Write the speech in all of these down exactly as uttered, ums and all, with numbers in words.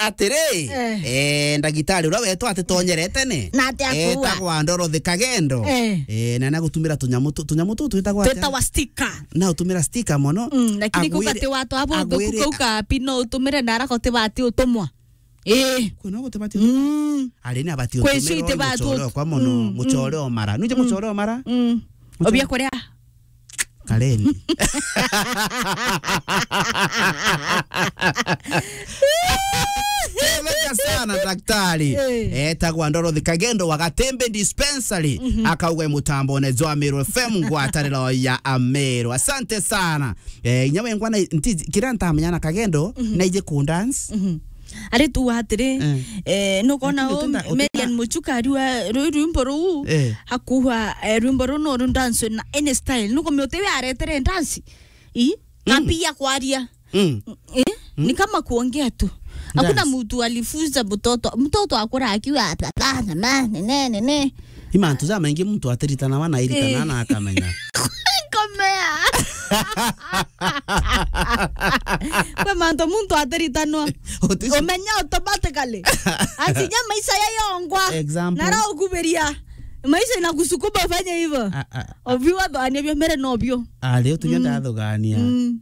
Atiri, eh, ndagitari uria wetu atitonyerete ni? Na ati akuua? Etagwa Dorothy Kagendo. Eh. Eh, na nagutumira tunyamu tu-, tunyamu tu twitagwa atia? Twitagwa sticker. Na utumira sticker mono. Mm, lakini kuga ati watu abo agwire, kuka ukapi no utumire na arako tibati utumwa. Eh. Kwina gutibati utumwa. Mm. Ari ni abati utumira itibati muchore okwa mono, mm, muchore omara. Nuje muchore omara? Mm. Obia kuria? Kareni. Thengia sana daktari. Eh. Etagwa Dorothy Kagendo wa Gatembe Dispensary. Mhm. Akauga mutambone jwa Meru F M ngwataniro ya Ameru. Asante sana. Eh, inya wengwa na nti, kiria ntamenya na Kagendo, mhm, naije ku dance. Mhm. Ari tu atiri, eh, eh, nukona lakini u utenda, utenda Marian Muchuka ariwa ru-, rwimbo ruu, eh, hakuha, eh, rwimbo ruu no ru dance na any style. Nukumia utiwe aretere dance. I? Mm. Kapi ya kwaria. Mm. Eh? Mm. Ni kama kuongea tu. Hakuna mtu alifunza mtoto. Mtoto akura akiwa hapa, "Bana, ma, ne, ne, ne, ne." I mantu jamaingi muntu atiritanawa na airitana, eh, na akamenya. Komea. Kwi mantu muntu atiritanwa. Uti- umenya automatically. Asinya maisha yayongwa. Example. Nara ukubiria. Maisha inakusukuma ufanye hivyo. A, a, a. Ovyo wathania bio mbere nobio. Ari utunya, mm, ndathugania. Mm.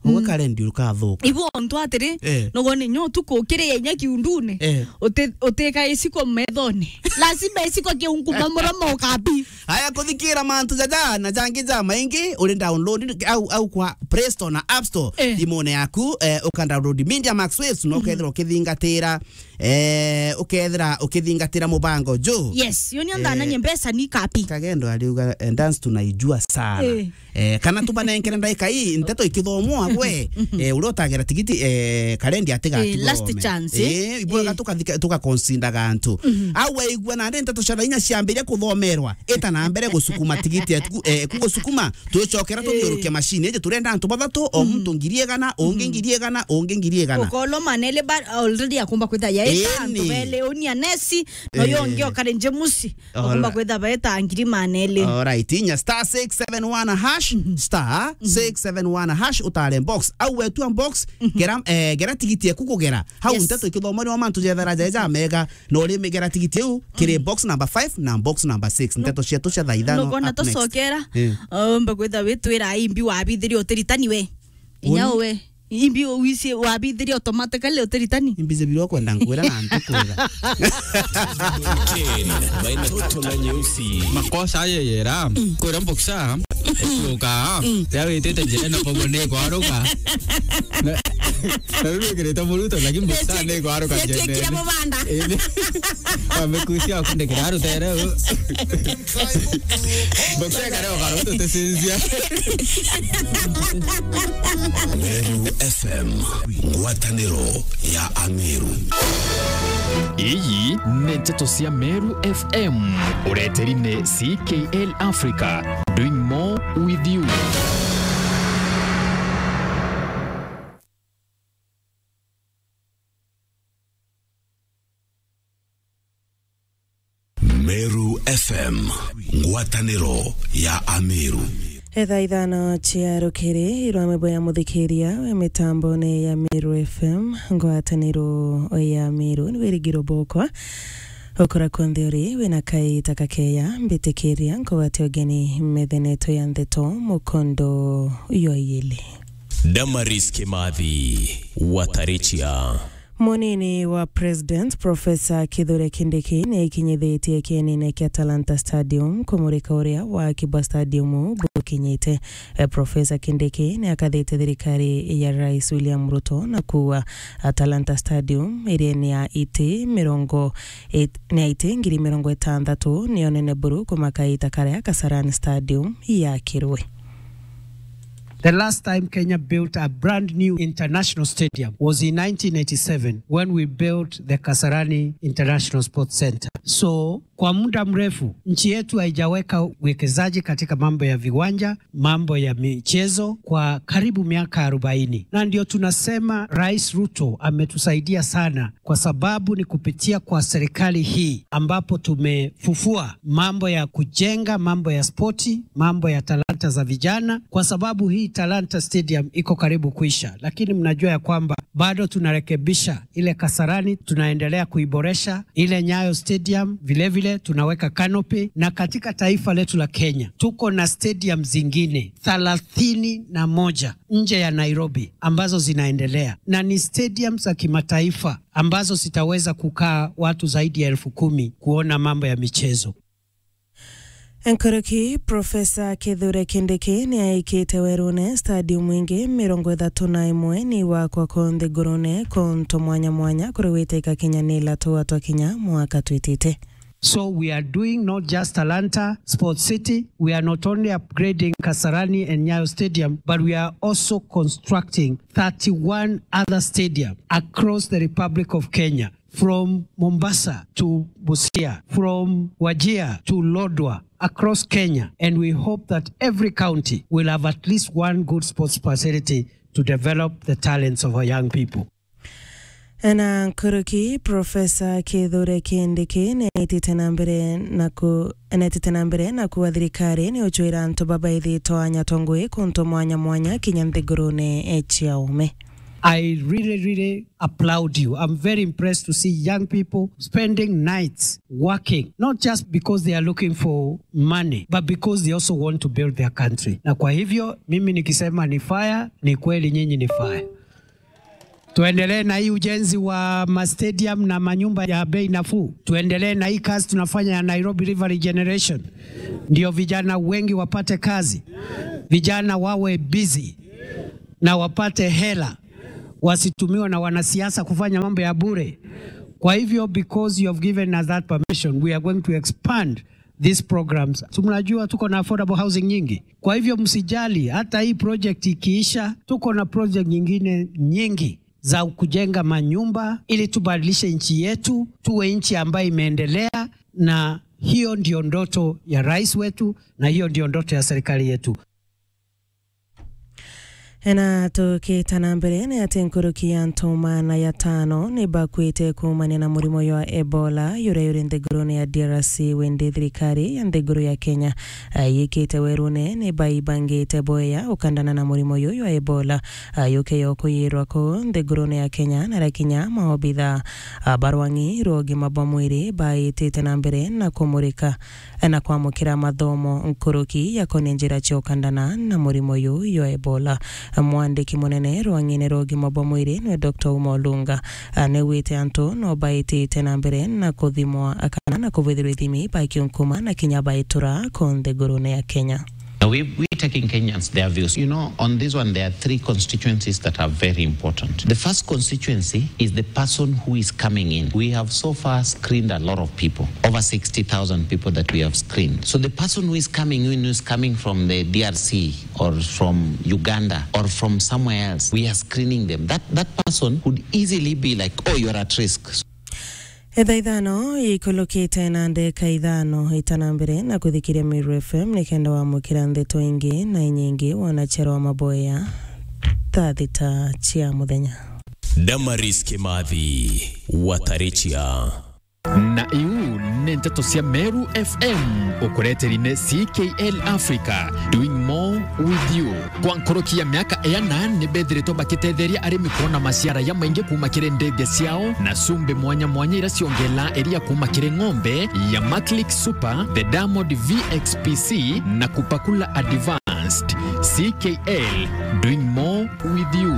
Uga, mm, karendi ukathuka. Ibu ontu atiri, eh, nugone nyo utuku ukiriya inya kiundune. Eh. Uti-, utika isiko methone. Lazima isiko kiunguma muromo ukabi. Aya, kuthikira mantu jaja na jangi jamaingi, uri download au, au kwa Play Store na App Store, eh, thimune yaku, eh, uka download Media Max Waves, no, mhm, ukethira ukithingatira, eh, ukethira ukithingatira mubango ju. Yes, yo ni, eh, andananye mbeca ni kapi. Kagendo ariuga, eh, dance tunaijua sana. Eh. Eh, kana tubanenkere ndaika ii, nteto ikithomwa gwe, mhm, eh, uria utagera tigiti, eh, karendi atiga, eh, last chance, eh? Eh, ibwega, eh, tukathika, tugaconsider gantu. Mhm. Au waigua nandi nteto cia inya ciambiria kuthomerwa, ita na mbere gusukuma tigiti eku, eh, eku gusukuma, twicokera, eh, tuthiuruke machine iji, turenda antu bathatu, o, mhm, muntu ngiri igana, ungi, mhm, ngiri igana, ungi ngiri igana. Ukolo manele ba already akumba kwita ya ita, eni, antu bele unia nesi, no, eh, yo ungi okare njemusi. All right. Okumba kwitha baeta ngiri maneli. All right, inya star six seven one hash, mhm, star, mhm, six seven one hash, utare box. Au wetua box, mhm, gera, eh, gera tigiti eku kugera. Hau, yes, nteto ikithomwa ni wa mantu jethera jeja mega, no rimigera tigiti iu kiri, mhm, box number five na box number six. No. Nteto cietu cia thaa ithano. Nukona up next. Tucokera, eh, omba kwitha witwira imbi wabithirie utiritani we. Inya uni? Uwe. Imbi wisi wabithiria automatically utiritani? Imbi zebirwa kwenda nkwira na ntikwira. Ken, baina toto na nyeusi. Makosa aye yera. Mm. Kwira mboksa. Mm. Kuka. Mm. Ya witite njira na bobo ni kwaruka. Na, na ruru kirita muruto, lakini mboksa ni kwaruka. Yetu njira. Kira mubanda. Ebe. Amekusia kunde kira rutere. Mboksa kare okaro tutesinzia. Meru F M, ngwataniro ya Ameru. Iyi ni nteto cia Meru F M, ureteri ni C K L Africa, doing more with you. Meru F M, ngwataniro ya Ameru. Etha ithano cia rukiri, irwamwe bwa ya muthikiria we mitambone ya Meru F M, ngwataniro ya Ameru, ni wirigiro bokwa. Ukura kunthe uri, wina kaita kakeya, mbitikiria, nkugwate ugeni metheneto ya ndeto, mukondo yo yili. Damaris Kimathi, Watarichia. Munini wa President, Professor Kithure Kindiki, ni aikinyithitie kienine kia Talanta Stadium kumurika uria waki bwa stadium bukinyite. Eh, Professor Kindiki ni akathite thirikari ya Rais William Ruto na kuuga, ah, Talanta Stadium iria ni ya iti mirongo it-, ni ya iti ngiri mirongo itantatu, niyo nene buru kumaka ita karia Kasarani Stadium yakirwe. The last time Kenya built a brand new international stadium was in nineteen eighty-seven when we built the Kasarani International Sports Centre. So, Kwa muda mrefu, nchi yetu haijaweka uwekezaji katika mambo ya viwanja, mambo ya michezo kwa karibu miaka arobaini. Na ndio tunasema Rais Ruto ametusaidia sana, kwa sababu ni kupitia kwa serikali hii ambapo tumefufua mambo ya kujenga, mambo ya spoti, mambo ya talanta za vijana, kwa sababu hii Talanta Stadium iko karibu kuisha, lakini mnajua ya kwamba bado tunarekebisha ile Kasarani, tunaendelea kuiboresha, ile Nyayo Stadium vilevile tunaweka canopy, na katika taifa letu la Kenya tuko na stadium zingine thelathini na moja nje ya Nairobi ambazo zinaendelea, na ni stadium za kimataifa ambazo zitaweza kukaa watu zaidi ya elfu kumi kuona mambo ya michezo. Nkuruki, Profesa Kithure Kindiki ni aikite werune stadium ingi mirongo ithatu na imwe ni wakwa ku nthigurune kuntu mwanya mwanya kuri wite ikakinya ni latu atwa kinya mwaka twitite. So we are doing not just Talanta Sports City, we are not only upgrading Kasarani and Nyayo Stadium, but we are also constructing thirty-one other stadium across the Republic of Kenya, from Mombasa to Busia, from Wajir to Lodwar, across Kenya. And we hope that every county will have at least one good sports facility to develop the talents of our young people. Na nkuruki, Profesa Kithure Kindiki ni aitite na mbere na ku-, ni aitite na mbere na kuuga thirikari ni ucwira antu babaithitwe anya tongwi kuntu mwanya mwanya kinya nthigurune cia ume. I really, really applaud you. I'm very impressed to see young people spending nights working, not just because they are looking for money, but because they also want to build their country. Na kwa hivyo, mimi nikisema ni fire, ni kweli nyinyi ni fire. Tuendelee na hii ujenzi wa ma stadium na manyumba ya bei nafuu. Tuendelee na hii kazi tunafanya ya Nairobi River Regeneration. Ndio vijana wengi wapate kazi. Vijana wawe busy na wapate hela. Wasitumiwe na wanasiasa kufanya mambo ya bure. Kwa hivyo, because you have given us that permission, we are going to expand these programs. Si mnajua tuko na affordable housing nyingi? Kwa hivyo msijali, hata hii project ikiisha, tuko na project nyingine nyingi za kujenga manyumba ili tubadilishe nchi yetu, tuwe nchi ambayo imeendelea, na hiyo ndio ndoto ya rais wetu, na hiyo ndio ndoto ya serikali yetu. Na tukita na mbere, ni ati nkuruki ya antu maana ya tano ni bakuite kuumania na murimo jwa Ebola, juria juri nthigurune ya D R C, windi thirikari ya nthiguru ya Kenya, ah, yikite werune ni baibangite bwega ukandana na murimo juju jwa Ebola, ah, juke jukuyirwa ku nthigurune ya Kenya na rakinya maobitha, ah, ba rwang'i rwa ugima bwa mwiri baitite na mbere na kumurika na kwamukira mathomo nkuruki yakonie njira cia ukandana na murimo juju jwa Ebola. Mwandiki munene rwang'ine rwa ugima bwa mwiri niwe Doctor Uma Olunga, a, niwite antu no baitite na mbere na kuthimwa kana na kubwithirwa ithimi bakiunkuma na kinya baitura ku nthigurune ya Kenya. Now, we, we taking Kenyans their views. You know, on this one, there are three constituencies that are very important. The first constituency is the person who is coming in. We have so far screened a lot of people, over sixty thousand people that we have screened. So the person who is coming in, who is coming from the D R C or from Uganda or from somewhere else, we are screening them. That, that person could easily be like, "Oh, you're at risk." Ithaa ithano ikulukite na ndeka ithano, ita na mbere na kuthikiria Meru F M nikenda wamukira ndeto ingi na inyingi wona chero wa maboya thaa thita cia muthenya. Damaris Kimathi, Watarichia. Na iu ni nteto cia Meru F M, ukureteri ni C K L Africa, doing more with you. Kwa nkuruki ya miaka iana, ni bethiritwe bakitetheria arimi kwona maciara jamaingi kuuma kiri ndithia ciao, na cumbi mwanya mwanya iria ciongela iria kuuma kiri ng'ombe ya Maclick Super, the Diamond V X P C, na Kupakula Advanced. C K L, doing more with you.